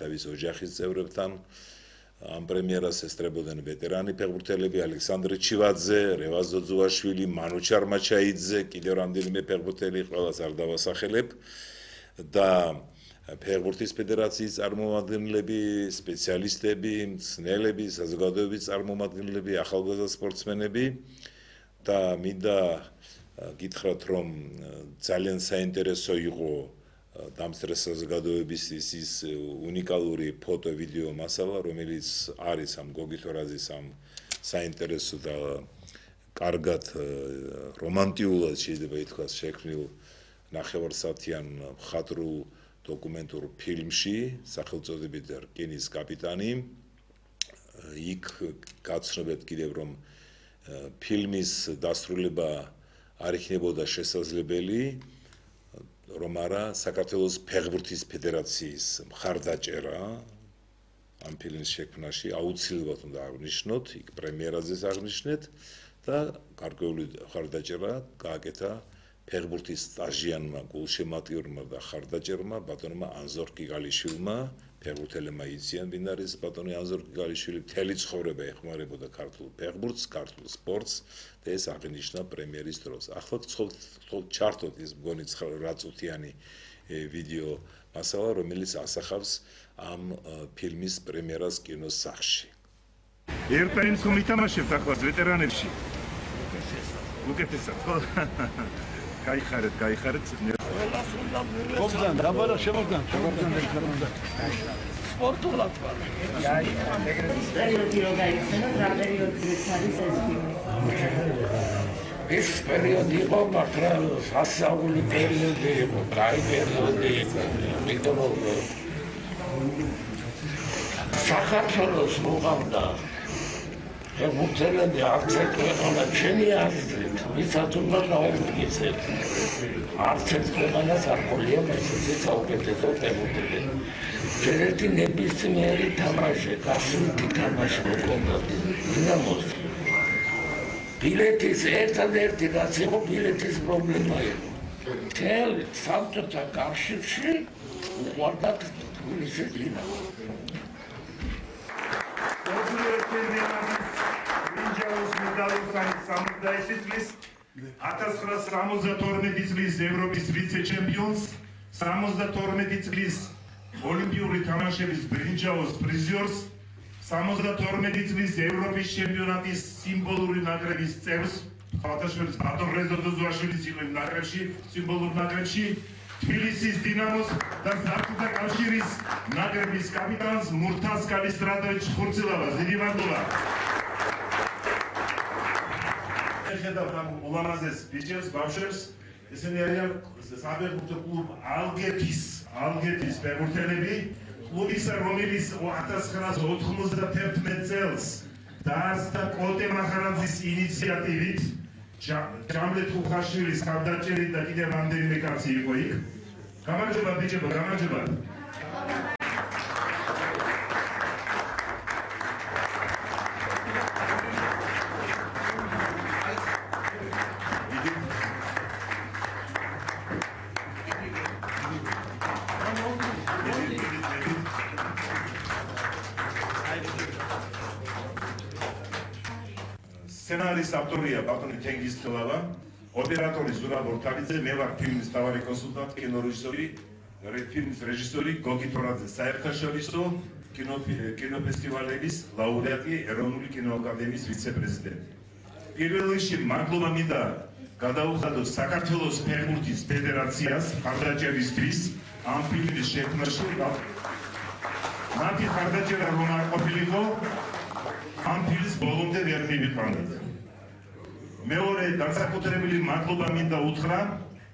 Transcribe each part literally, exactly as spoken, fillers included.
თავის ოჯახის წევრებთან. Am პრემიერას ესწრებოდნენ ვეტერანი ფეხბურთელები ალექსანდრე ჩივაძე, რევაზ ძოძუაშვილი, მანუ ჩარმაჩაიძე, კიდევ რამდენიმე ფეხბურთელი ყველას არ დავასახელებ და ფეხბურთის ფედერაციის წარმომადგენლები, სპეციალისტები, მცნელები, საზოგადოების წარმომადგენლები, ახალგაზრდა სპორტსმენები და მინდა გითხრათ რომ ძალიან საინტერესო იყო დამსწრე საზოგადოების ის უნიკალური ფოტო-ვიდეო მასალა, რომელიც არის ამ გოგითორაძის ამ საინტერესო და კარგად რომანტიულად შეიძლება ითქვას შექმნილ ნახევარსაათიან მხატვრულ დოკუმენტურ ფილმში, სახელწოდებით რკინის კაპიტანი. იქ გაცნობთ კიდევ რომ ფილმის დასრულება არ იქნებოდა შესაძლებელი, რომ არა საქართველოს ფეხბურთის ფედერაციის მხარდაჭერა ამ ფილმის შექმნაში აუცილებლად უნდა აღნიშნოთ, იქ პრემიერაზეც აღნიშნეთ და გარკვეული მხარდაჭერა გააკეთა ფეხბურთის სტაჟიანმა, გულშემატკივრმა და მხარდაჭერმა ბატონმა ანზორ კიკალიშვილმა, ფეხბურთელებმა იციან ბინარის ბატონი ანზორ კიკალიშვილი მთელი ცხოვრება ეხმარებოდა ქართულ ფეხბურთს, ქართულ სპორტს და ეს აღინიშნა პრემიერის დროს. ახლა ჩართოთ ის მგონი რაწუთიანი ვიდეო მასალა, რომელიც ასახავს ამ ფილმის პრემიერას კინოს სახლში. ერთ ტაიმს ხომ ითამაშებთ ახლა ვეტერანებში? უკეთესად, ხო? გაიხარეთ, გაიხარეთ. გოგდან, დაბარა შემოგდან, შემოგდან ეხარდა. სპორტულად ვარ. პერიოდი რო გაიხსენო, რა პერიოდიც არის ეს ფილმი? ეს პერიოდი იყო, მაგრამ სასწაული პერიოდი იყო, კაი პერიოდი იყო. იმიტომ რომ საქართველოს მოყავდა ფეხბურთელები არც ერთ ქვეყანა ჩემი აზრით, ვისაც უნდა გავემიგეთ. არც ერთ ქვეყანას არ ყოლია მესეთი საუკეთესო ფეხბურთელი. ერთი ნებისმიერი თამაში, გასული თამაში მოყავდა დინამოს. ბილეთის ერთადერთი რაც იყო ბილეთის პრობლემა იყო. მთელ საბჭოთა კავშირში უყვარდათ თბილისის დინამო. წლის ათას ცხრაას სამოცდათორმეტი წლის ევროპის ვიცე-ჩემპიონს, სამოცდათორმეტი წლის ოლიმპიური თამაშების ბრინჯაოს პრიზიორს, სამოცდათორმეტი წლის ევროპის ჩემპიონატის სიმბოლური ნაკრების წევრს, ხალხაშვილის ბატონ რეზო ძოძუაშვილის იყო იმ ნაკრებში, სიმბოლურ ნაკრებში, თბილისის დინამოს და საბჭოთა კავშირის ნაკრების კაპიტანს მურთაზ კალისტრატოვიჩ ხურცილავას. დიდი მადლობა. ხედავთ ამ ულამაზეს ბიჭებს, ბავშვებს, ესენი არიან საფეხბურთო კლუბ ალგეთის, ალგეთის ფეხბურთელები, კლუბისა, რომელიც ათას ცხრაას ოთხმოცდათერთმეტ წელს დაარსდა კოტე მახარაძის ინიციატივით, ჯამლე თუხაშვილის ხარდაჭერით და კიდევ რამდენიმე კაცი იყო იქ. გამარჯობა ბიჭებო, გამარჯობა. სცენარის ავტორია ბატონი თენგიზ თელავა, ოპერატორი ზურაბ ორთალიძე, მე ვარ ფილმის მთავარი კონსულტანტი, კინორეჟისორი, ფილმის რეჟისორი გოგი თორაძე, საერთაშორისო კინოფესტივალების ლაურეატი, ეროვნული კინოაკადემიის ვიცე-პრეზიდენტი. პირველ რიგში მადლობა მინდა გადაუხადოს საქართველოს ფეხბურთის ფედერაციას მხარდაჭერისთვის ამ ფილმის შექმნაში. მათი მხარდაჭერა რომ არ ყოფილიყო, ამ ფილმს ბოლომდე ვერ მივიყვანეთ. მეორე განსაკუთრებული მადლობა მინდა უთხრა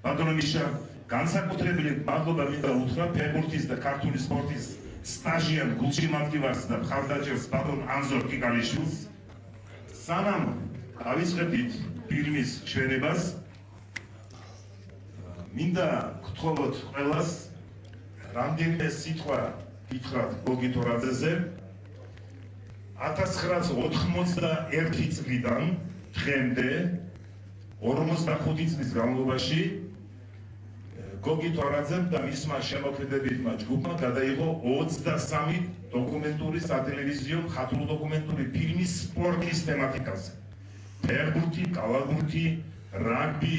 ბატონო მიშა, განსაკუთრებული მადლობა მინდა უთხრა ფეხბურთის და ქართული სპორტის სტაჟიან გულშემატკივარს და მხარდაჭერს ბატონ ანზორ კიკალიშვილს. სანამ ავიწყებდით ფილმის ჩვენებას, მინდა გთხოვოთ ყველას რამდენიმე სიტყვა გითხრათ გოგი თორაძეზე. ათას ცხრაას ოთხმოცდაერთი წლიდან დღემდე ორმოცდახუთი წლის განმავლობაში გოგი თორაძემ და მისმა შემოქმედებითმა ჯგუფმა გადაიღო ოცდასამი დოკუმენტური სატელევიზიო მხატვრულ დოკუმენტური ფილმი სპორტის თემატიკაზე. ფეხბურთი, კალათბურთი, რაგბი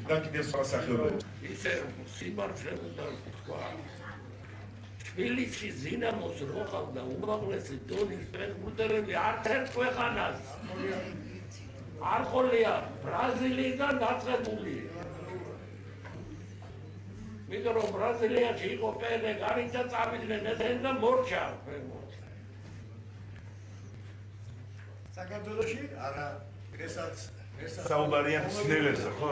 და კიდევ სხვა სახეობები. ისე სიმართლე უნდა თქვა. თბილისის დინამოს რო ყავდა უმაღლესი დონის ფეხბურთელები არც ერთ ქვეყანას არ ყოლია ბრაზილიიდან დაწყებული. მითხო რომ ბრაზილიაში იყო პელე, გარიცა წავიდნენ ესენ და მორჩა ფეხბურთი. საქართველოში არა ესაც საუბარია ცნებებზე, ხო?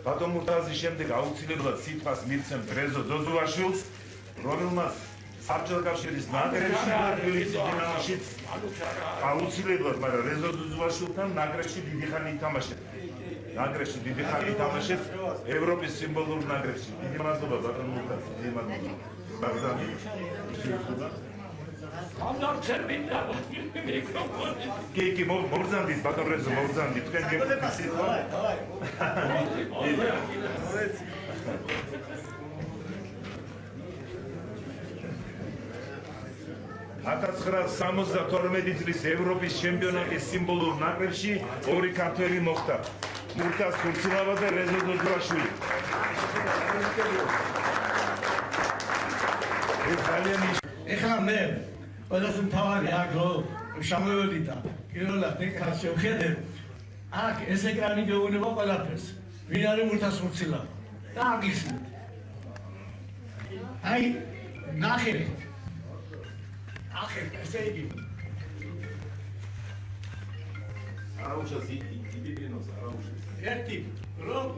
ბატონ მურტაზის შემდეგ აუცილებლად სიტყვას მიცემ რეზო ძოძუაშვილს, რომელმაც საბჭოთა კავშირის ნაკრებში და თბილისის დინამოშიც აუცილებლად, მაგრამ რეზო ძოძუაშვილთან ნაკრებში დიდი ხანი ითამაშეთ. ნაკრებში დიდი ხანი ითამაშეთ ევროპის სიმბოლურ ნაკრებში. დიდი მადლობა ბატონ მურტაზ, დიდი მადლობა. ბაგდანი. ამარ წერმინდა მიკროფონი. კი, კი, მოგზანდით ბატონ რეზო, მოგზანდით. თქვენ გეკითხეთ სიტყვა. ათას ცხრაას სამოცდათორმეტი წლის ევროპის ჩემპიონატის სიმბოლურ ნაკრებში ორი ქართველი მოხვდა. მურტაზ ხურცილავა და რეზო ძოძუაშვილი. ეს ძალიან ეხლა მე ყველას მთავარი აგრო შამოვედი და პირველად ეკრანს შევხედე. აქ ეს ეკრანი გეუბნება ყველაფერს. ვინ არის მურტაზ ხურცილავა? და აგიხსნით. აი ნახეთ. ახეთ ესე იგი. არაუშას იდიპინოს არაუშას. ერთი რომ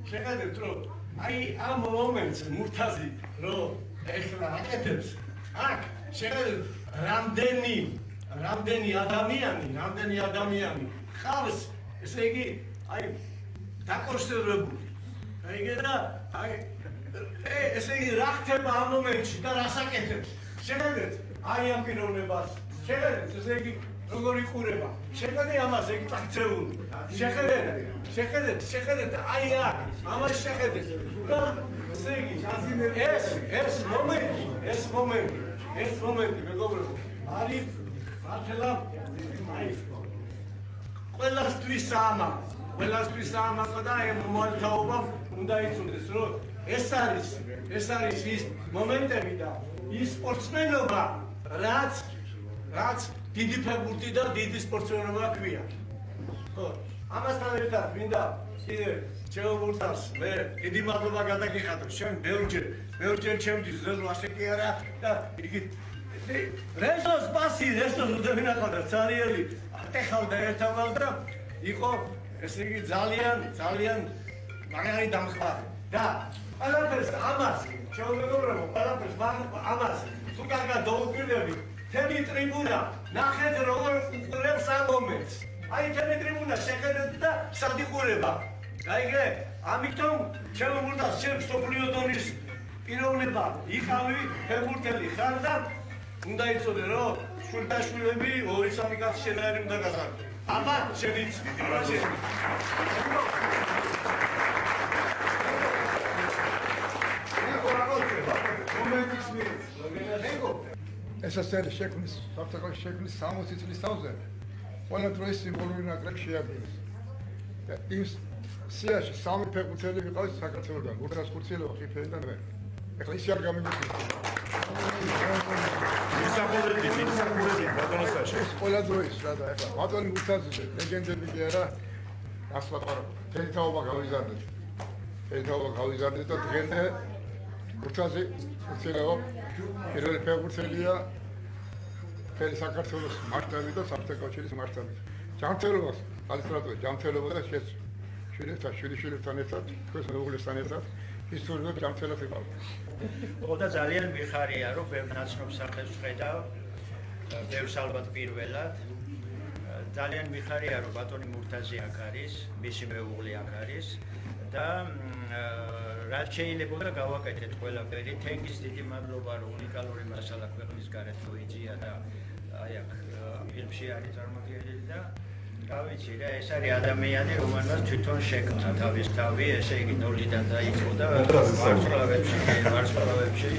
შეხედეთ რომ აი ამ მომენტს მურტაზი რომ ეხლა აკეთებს აქ შეხედეთ რამდენი რამდენი ადამიანი რამდენი ადამიანი ხავს ესე იგი აი დაკონსერვებული აი და აი ესე იგი რა ხდება ამ მომენტში და რას აკეთებს შეხედეთ აი ამ პიროვნებას შეხედეთ ესე იგი როგორ იყურება შეხედე ამას ეგ წაქცეული შეხედეთ შეხედეთ შეხედეთ აი აქ ამას შეხედეთ და ესე იგი ეს ეს მომენტი ეს მომენტი ეს მომენტი მეგობრებო არის მართლა აი ყველასთვის ამა ყველასთვის ამა და აი მომალთაობა უნდა იცოდეს რომ ეს არის ეს არის ის მომენტები და ის სპორტსმენობა რაც რაც დიდი ფეხბურთი და დიდი სპორტსმენობა ქვია. ხო, ამასთან ერთად მინდა კიდე ჩემურთას მე დიდი მადლობა გადაგიხადო. შენ ბევრჯერ, ბევრჯერ ჩემთვის ზეზო ასე კი არა და იგი რეზოს პასი, რეზოს უდევინახავდა ცარიელი. ატეხავდა ერთამალ და იყო ესე იგი ძალიან, ძალიან მაგარი დამხმარე. და ყველაფერს ამას, შემოგეგობრებო, ყველაფერს ამას თუ კარგად დაუკვირდებით თემი ტრიბუნა ნახეთ როგორ უყურებს ამ მომენტს. აი თემი ტრიბუნა შეხედეთ და სად იყურება. გაიგე? ამიტომ ჩემო მურტაზ შენ სოფლიო დონის პიროვნება იყავი ფეხბურთელი ხარ და უნდა იცოდე რომ შვილდაშვილები ორი სამი კაცი შენაერი უნდა გაზარდო. აბა შევიც. აბა შევიც. მომენტის მიერ. ეგო ეს ასეთი შექმნის საფრთხე შექმნის სამოცი წლის თავზე ყველა დროის სიმბოლური ნაკრები შეაბინეს და იმ სიაში სამი ფეხბურთელი ვიყავით საქართველოსგან მურტაზ ხურცილავა ხიფელი და მე ეხლა ისე არ გამიგიჩნდა ისახურები ისახურები ბატონოსაში ეს ყველა დროის რა და ეხლა ბატონი მურტაზი ლეგენდები კი არა ასლა პარა თელთაობა გავიზარდეთ თელთაობა გავიზარდეთ და დღემდე მურტაზი ხურცილავა პირველი ფეხბურთელია მთელი საქართველოს მასშტაბით და საბჭოთა კავშირის მასშტაბით. ჯანმრთელობას, ალისტრატორი ჯანმრთელობა და შეც შვილებთან, შვილიშვილებთან ერთად, თქვენს მეუღლესთან ერთად ისტორიულად ჯანმრთელად იყავ. ხო და ძალიან მიხარია, რომ ბევრ ნაცნობს სახელს ვხედავ, ბევრს ალბათ პირველად. ძალიან მიხარია, რომ ბატონი მურტაზი აქ არის, მისი მეუღლე აქ არის და რაც შეიძლება გავაკეთეთ ყველაფერი. თენგის დიდი მადლობა, რომ უნიკალური მასალა ქვეყნის გარეთ მოიძია და აი აქ ფილმში არის წარმოდგენილი და რა ვიცი რა, ეს არის ადამიანი, რომელმაც თვითონ შექმნა თავის თავი, ესე იგი ნოლიდან დაიწყო და ვარსკვლავებში, ვარსკვლავებში